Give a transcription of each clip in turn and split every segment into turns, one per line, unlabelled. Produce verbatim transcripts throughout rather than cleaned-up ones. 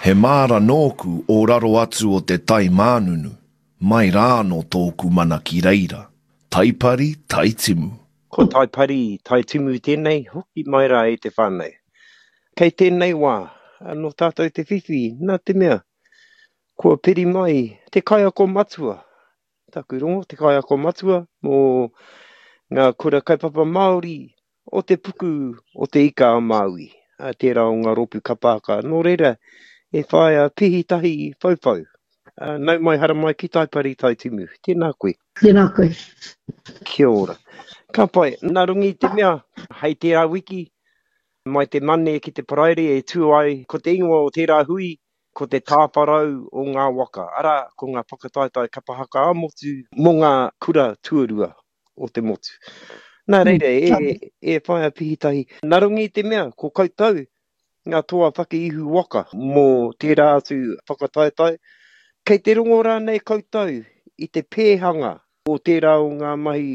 He māra nōku o raro atu o te tai mānunu, mai rā anō tōku mana ki reira. Taipari, Taitimu.
Ko Taipari, Taitimu tēnei, hoki mai rā e te whānau. Kei tēnei wā, nō tātou te whiwhi, nā te mea, kua piri mai te kaiako matua, taku rongo, te kaiako matua mō ngā kura kaupapa Māori o te puku o te Ika a Māui, tērā o ngā rōpū kapa haka. Nō reira, e whaia Pihitahi Whauwhau. Nau mai haramai ki Taipari Taitimu. Tēnā koe.
Tēnā koe.
Kia ora. Ka pai, nā runga i te mea, hei tērā wiki, mai te Mane ki te Paraire e tū ai, ko te ingoa o tērā hui, ko te tāwharau o ngā waka, arā, ko ngā whakataetae kapa haka ā-motu mō ngā kura tuarua o te motu. Nā reira, e, e whaia Pihitahi, nā runga i te mea, ko koutou ngā toa whakaihu waka mō tērā atu whakataetae, kei te rongo rānei koutou i te pēhanga o tērā o ngā mahi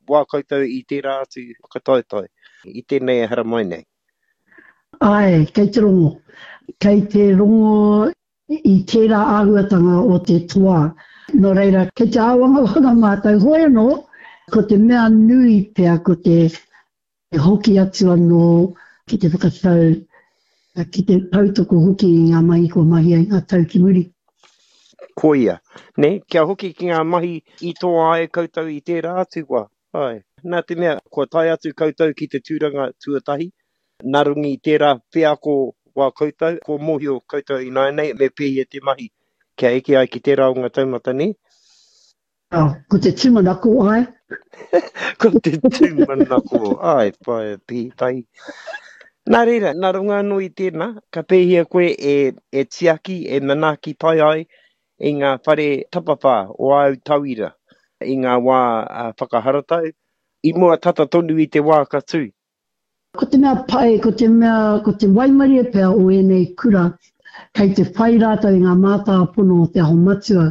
wā koutou i tērā atu whakataetae, i tēnei e haramai nei?
Āe, kei te rongo. Kei te rongo i tērā āhuatanga o te toa. Nō reira, kei te āwangawanga mātou. Hoi anō, ko te mea nui pea ko te hoki atu anō ki te whakatau, ki te tautoko hoki i ngā mahi kua mahia i ngā tau ki muri.
Koia, nē, kia hoki ki ngā mahi i toa ai koutou i tērā atu wā. Āe, nā te mea, kua tae atu koutou ki te tūranga tuatahi, nā runga i tērā wheako wā koutou, kua mōhio koutou ināianei me pēhea te mahi kia eke ai ki tērā o ngā taumata, nē?
Oh, ko te tūmanako, āe.
Ko te tūmanako, āe, whaea Pihitahi. Nā reira, nā runga anō i tēnā, ka pēhea koe e, e tiaki, e manaaki pai ai i ngā whare tapawhā o āu tauira i ngā wā whakaharatau, i mua tata tonu i te wā ka tū?
Ko te mea pai, ko te mea, ko te waimarie pea o ēnei kura, kei te whai rātou i ngā mātāpono o Te Aho Matua.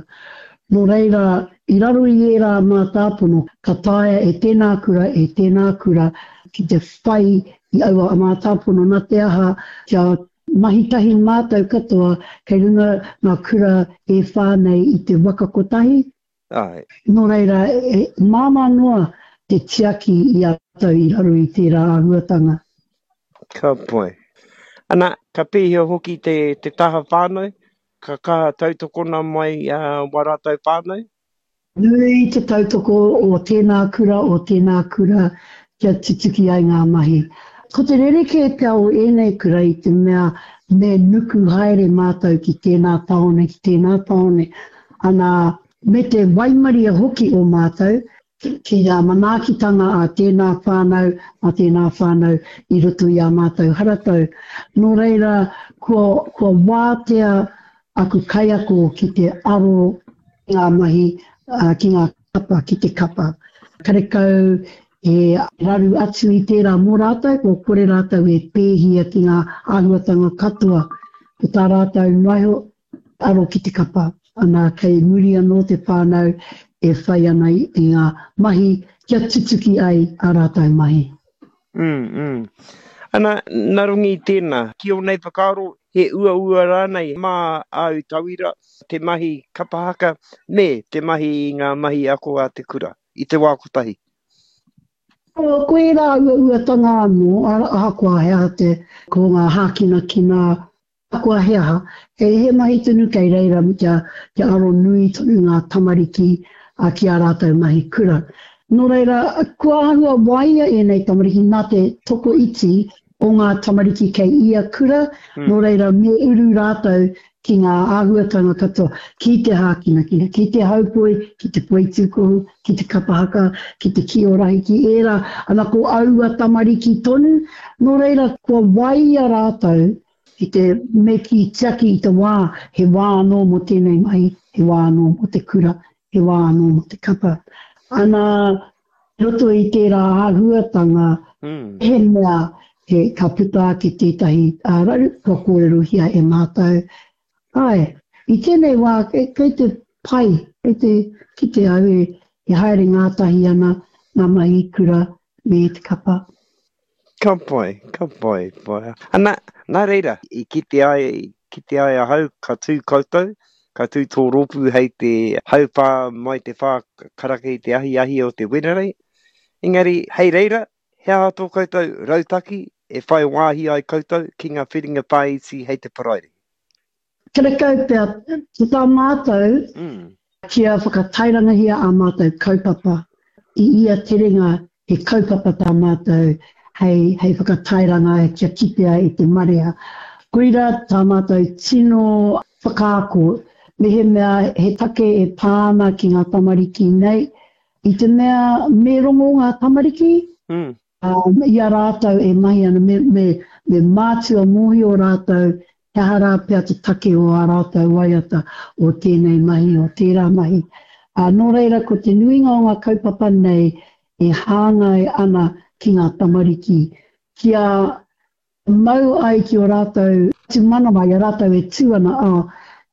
Nō reira, i raro i ērā mātāpono, ka taea e tēnā kura, e tēnā kura ki te whai i aua mātāpono, nā te aha, kia mahi tahi mātou katoa kei runga ngā kura e whā nei i te waka kotahi.
Āe.
Nō reira, e māmā noa te tiaki i a rātou i raro i tērā āhuatanga.
Ka pai. Ana, ka pēhea hoki te, te taha whānau? Ka kaha tautokona mai uh, wā rātou whānau?
Nui te tautoko o tēnā kura, o tēnā kura kia tutuki ai ngā mahi. Ko te rerekē pea o ēnei kura i te mea me nuku haere mātou ki tēnā tāone, ki tēnā tāone. Ana, me te waimarie hoki o mātou ki ngā manaakitanga a tēnā whānau, a tēnā whānau i roto i ā mātou haratau. Nō reira, kua, kua wātea aku kaiako ki te aro ki ngā mahi, ki ngā kapa, ki te kapa. Karekau e raru atu i tērā mō rātou, kua kore rātou e pēhia ki ngā āhuatanga katoa. Ko tā rātou noa iho, aro ki te kapa. Ana, kei muri anō te whānau e whai ana i ngā mahi kia tutuki ai ā rātou mahi.
Mm, mm. Ana, nā runga i tēnā, ki ō nei whakaaro, he uaua rānei mā āu tauira te mahi kapa haka me te mahi i ngā mahi ako a te kura i te wā kotahi?
Ko ērā uauatanga anō, ahakoa he aha te, ko ngā hākinakina, ahakoa he aha, he, he mahi tonu kei reira kia, kia aro nui tonu ngā tamariki ki ā rātou mahi kura. Nō reira, kua āhua waia ēnei tamariki nā te tokoiti o ngā tamariki kei ia kura, mm. nō reira me uru rātou ki ngā āhuatanga katoa, ki te hākinakina, ki te haupoi, ki te poitūkohu, ki te kapa haka, ki te kiorahi, ki ērā, ana ko aua tamariki tonu, nō reira kua waia rātou ki te me kī tiaki i te wā, he wā anō mō tēnei mahi, he wā anō mō te kura, he wā anō mō te kapa. Ana, i roto i tērā āhuatanga, mm. he mea he, ka puta ake tētahi raru, kua kōrerohia e mātou. Āe, i tēnei wā, kei, kei te pai, kei te kite au e, e haere ngātahi ana ngā mahi kura me te kapa.
Ka pai, ka pai, pai. Ana, nā reira, i kite ai kite ai ahau ka tū koutou, ka tū tō rōpū hei te hauwhā mai te whā karaka i te ahiahi o te Wenerei. Engari, hei reira, he aha tō koutou rautaki e whai wāhi ai koutou ki ngā whiringa whāiti hei te Paraire?
Karekau pea, ko tā mātou,
Mm.
kia whakatairangahia ā mātou kaupapa i ia terenga he kaupapa tā mātou hei, hei whakatairanga kia kitea i te marea. Koira tā mātou tino whakaako, mehemea he take e pā ana ki ngā tamariki nei, i te mea me rongo ngā tamariki,
Mm.
um, i a rātou e mahi ana, me, me, me mātua mōhio rātou, he aha rā pea te take o ā rātou waiata o tēnei mahi, o tērā mahi. Uh, nō reira, ko te nuinga o ngā kaupapa nei e hāngai ana ki ngā tamariki, kia mau ai ki o rātou tūmanawa, i a rātou e tū ana, ā,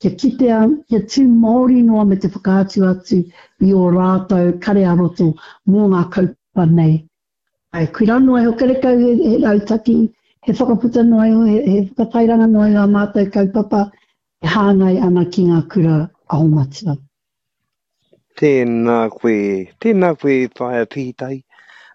kia kitea, kia tū Māori noa me te whakaatu atu i o rātou kare ā-roto mō ngā kaupapa nei. Ai, koirā noa iho, karekau he, he rautaki, he whakaputa noa iho, he, he whakatairanga noa iho ā mātou kaupapa e hāngai ana ki ngā kura aho matua.
Tēnā koe, tēnā koe Whaea Pihitahi.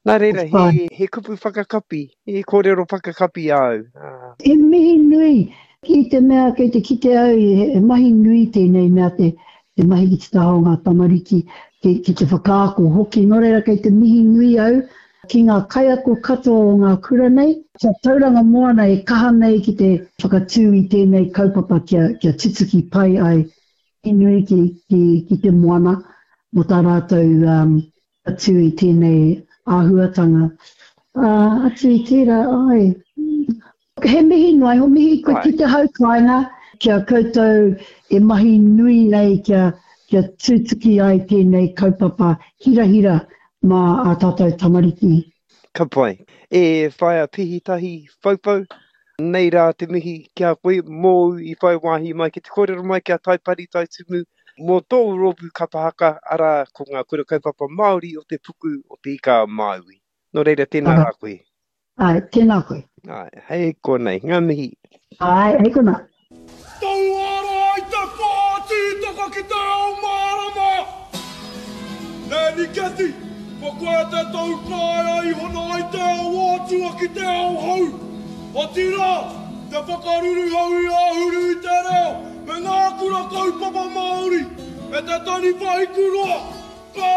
Nā reira,
Whai.
he, he kupu whakakapi, he kōrero whakakapi āu. Ah.
He mihi nui i te mea kei te kite au, he, he mahi nui tēnei mea te, te mahi ki te taha o ngā tamariki, ki, ki te whakaako hoki. Nō reira kei te mihi nui au ki ngā kaiako katoa o ngā kura nei, kia Tauranga Moana e kaha nei ki te whakatū i tēnei kaupapa kia, kia tutuki pai ai i nui ki, ki, ki te moana mō tā rātou um, atu i tēnei āhuatanga. Uh, atu i tērā, ai. He mihi noa iho, mihi koe
Ai.
ki te hau kāinga, kia koutou e mahi nui nei kia, kia tutuki ai tēnei kaupapa hirahira mā ā tātou tamariki.
Ka pai. E Whaea Pihitahi Whauwhau, nei rā te mihi ki a koe mōu i whai wāhi mai ki te kōrero mai ki a Taipari Taitumu mō tōu rōpū kapa haka, arā ko ngā kura kaupapa Māori o te puku o te Ika a Māui. Nō reira, tēnā
Ara.
rā koe.
Ai, tēnā koe.
Ai, hei konei, ngā mihi.
Ai, hei konā.
Tauara ai te pā tītaka ki te ao mārama! Nanny Cathy, ko koe te tau kāea i hono ai te ao atua ki te ao hou. Otirā, te whakaruruhau i āhuru i te reo me ngā kura kaupapa Māori, e te taniwha hikuroa,